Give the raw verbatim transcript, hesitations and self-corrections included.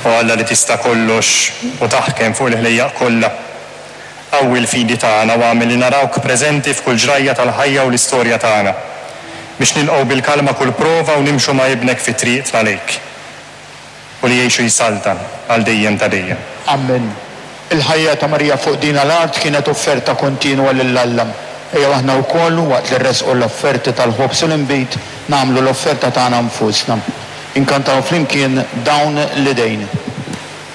O Alla li tista' kollox u taħkem fuq il-ħlejjaq kollha, qawwi l-fidi tagħna u agħmel li narawk preżenti f'kull ġrajja tal-ħajja u l-istorja tagħna, biex nilqgħu bil-kalma kull prova u nimxu ma' Ibnek fi triqtna lejk, u li jgħix u jsaltan għal dejjem ta' dejjem. Amen. Il-ħajja ta' Marija fuq din l-art kienet offerta kontinwa lil Alla. Ejjew aħna wkoll, waqt li rresqu l-offerti tal-ħobż u l-inbid, nagħmlu l-offerta tagħna nfusna. Inkantaw flimkien "Dawn l-Idejn".